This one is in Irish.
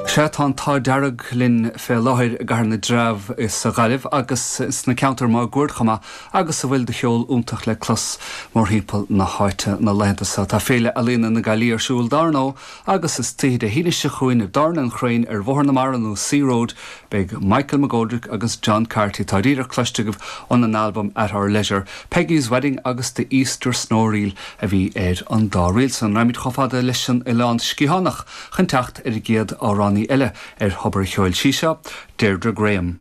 Sea, tá an t-ádh dearg linn fé láthair i gCathair na dTreabh sa Ghaillimh agus sna ceantair máguaird chomh maith agus a bhfuil de cheol iontach le clos mórthimpeall na háite na laethanta seo. Tá Féile Ealaíona na Gaillimhe ar siúl dár ndóigh agus istoíche Dé hAoine seo chugainn i dTábhairne an Chraoin ar Bhóthar na Mara nó Sea Road beidh Michael McGoldrick agus John Carty, atá díreach cloiste agaibh óna n-albam At Our Leisure, Peggy's Wedding agus The Easter Snow Reel a bhí ar an dá ríl san. Raghaimid chomh fada leis an Oileán Sciathánach chun teacht ar an gcéad amhránaí eile ar Thobar an Cheoil. Sí seo Deirdre Graham.